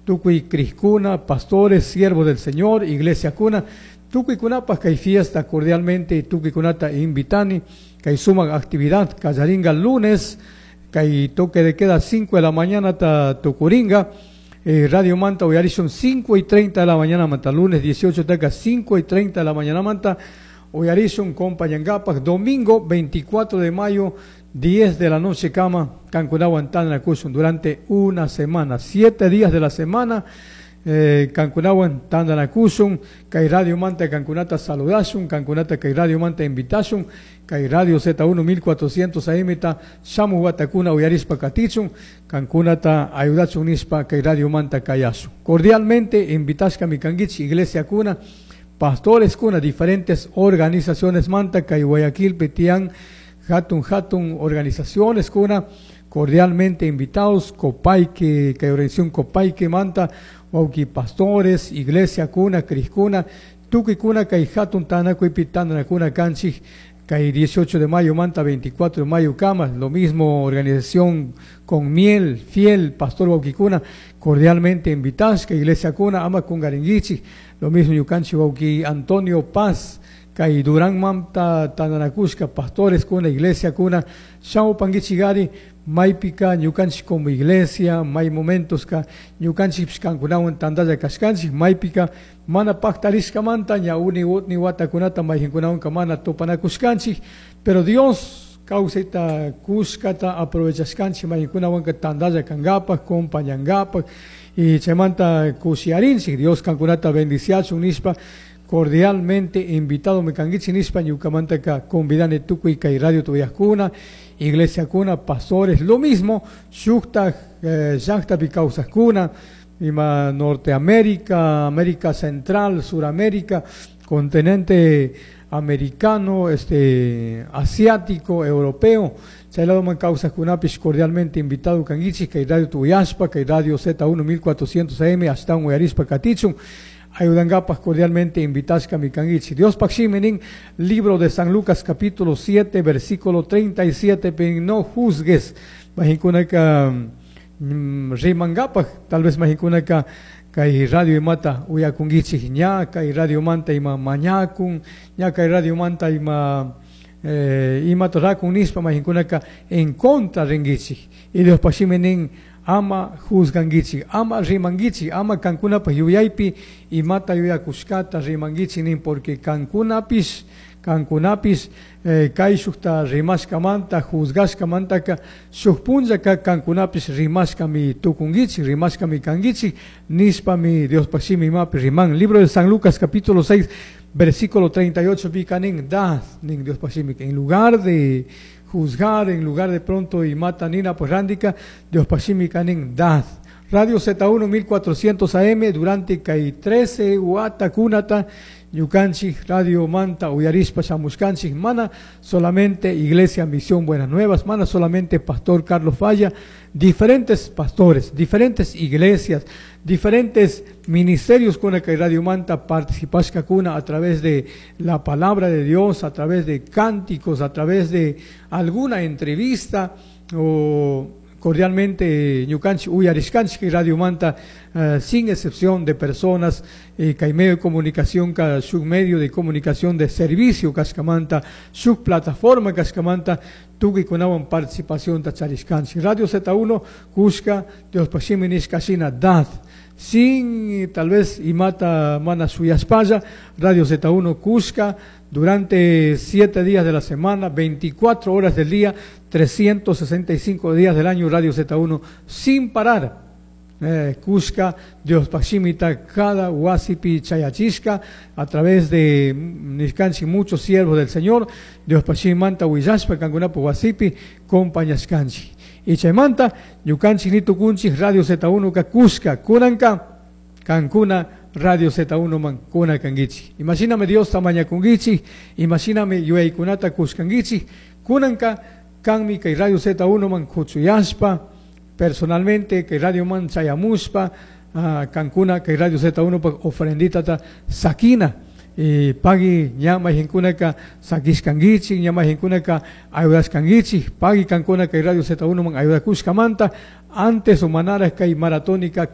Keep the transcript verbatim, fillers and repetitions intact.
Tukuy crijkuna, pastores, siervos del Señor, iglesia kuna, tukuykunapaj kay fiesta cordialmente tukuykunata invitani, kay sumak actividad, kallaringa lunes, kay toque de queda cinco de la mañana ta tukuringa, eh, Radio Manta uyarishun cinco y treinta de la mañana manta, lunes dieciocho taka cinco y treinta de la mañana manta, uyarishun compañangapaj, domingo veinticuatro de mayo, diez de la noche kama, kankunawan tandanakushun durante una semana, siete días de la semana, eh, kankunawan tandanakushun, kay Radio Manta kankunata saludashun, kankunata kay Radio Manta invitashun, kay Radio Z uno mil cuatrocientos A M ta shamu watakuna uyarispa katichun, kankunata ayudachun nispa kay Radio Manta kayashun. Cordialmente invitashka mi kangichi, iglesia kuna, pastores kuna, diferentes organizaciones manta, kay Guayaquil, Petián, Hatun Hatun, organizaciones kuna, cordialmente invitados, Copaique, kay organización Copaique manta, wauki pastores, iglesia kuna, crijkuna, tukuy kuna, kay Hatun Tanakuipi Tandanakuna kanchij, kay dieciocho de mayo manta, veinticuatro de mayo kama, lo mismo organización con miel, fiel, pastor wauki kuna, cordialmente invitados, kay iglesia kuna, ama kungaringuichi, lo mismo yukanchi wauki Antonio Paz, kay Durán Manta Tandanakushka, pastores kuna, iglesia kuna, shamu panguichigari, maypika ñukanchik como iglesia, may momentos ka ñukanchik kankunawan tandalla kashkanchik, maypika mana pactarishkamanta ña uni utni watakunata mayjinkunawanka mana tupanakushkanchik, pero Dios kawsayta kushkata aprovechashkanchik mayjinkunawanka tandalla kangapak, compañangapak, y chaymanta kushiarinchik, Dios kankunata bendiciachun nishpa, cordialmente invitado me kangichi nishpa ñukamanta ka convidane tukuy kay radio tuyajkuna, iglesia kuna, pastores, lo mismo, shukta, eh, llaktapi kawsajkuna, ima Norteamérica, América Central, Suramérica, continente americano, este, asiático, europeo, chay ladoman kawsajkunapish cordialmente invitado kangichi, kay radio tuyashpa, kay radio Z uno mil cuatrocientos A M, ashtawan uyarispa katichun, ayudangapas cordialmente invitashka mi kangichi. Dios pakshiminin, libro de San Lucas capítulo siete, versículo treinta y siete, pen no juzgues, majinkunaka, mm, rimangapas, tal vez majinkunaka kay radio imata uyakungichi ña, kay radio manta ima mañakun, ña kay radio manta ima, eh, imata rakun nispa majinkunaka en contra ringichi. Y Dios pakshiminin, ama juzganguichi, ama rimanguichi, ama kankunapaj yuyaypi imata yuyakushkata rimanguichi nin, porque kankunapis, kankunapis, eh, kayshukta rimashkamanta, juzgashkamantaka, shuk punllaka kankunapis rimashkami tukunguichi, rimashkami kanguichi, nispami Diospaj shimi imapi riman. Libro de San Lucas capítulo seis, versículo treinta y ocho, pikanin, da, nin Diospaj shimi, en lugar de juzgar, en lugar de pronto y mata nina pues rándica, Dios pashimi kanin dad. Radio Z uno mil cuatrocientos A M durante kay trece uata kunata ñukanchik Radio Manta uyarispa shamushkanchik, mana solamente Iglesia Misión Buenas Nuevas, mana solamente Pastor Carlos Falla, diferentes pastores, diferentes iglesias, diferentes ministerios con el que Radio Manta participashka kuna a través de la palabra de Dios, a través de cánticos, a través de alguna entrevista o cordialmente ñukanchik uyarishkanchik Radio Manta, eh, sin excepción de personas, eh, kay medio de comunicación, ka shuk medio de comunicación de servicio kashkamanta, shuk plataforma kashkamanta, tukuykunawan participación ta charishkanchik. Radio Z uno, Cusca, Dios pashimi nishkashina dad. Sin tal vez imata mana suyaspaya, Radio Z uno Cusca, durante siete días de la semana, veinticuatro horas del día, trescientos sesenta y cinco días del año, Radio Z uno, sin parar. Eh, Cusca, Dios Pashimita, cada huasipi chayachisca, a través de Nishkanchi, muchos siervos del Señor, Dios Pashimanta, Huillashpa, Kangunapo, huasipi, compañascanchi. Y chaymanta, ñukanchik nitukunchik, Radio Z uno ka Cusca, Kunanka, Cancuna, Radio Z uno man, kuna kangichi. Imagíname Dios tamaña kungichi, imagíname yueykunata kuskangichi, kunanka, kanmi kay Radio Z uno man kuchuyashpa, personalmente kay Radio man chayamushpa, ah, Cancuna kay Radio Z uno pa ofrendita ta sakina. Eh, pagui ña mayqinkunaka sakishkankichik, ña mayqinkunaka ayudashkankichik, pagui kankuna kay Radio Z uno man ayudakushkamanta antes o manaraj kay maratónica.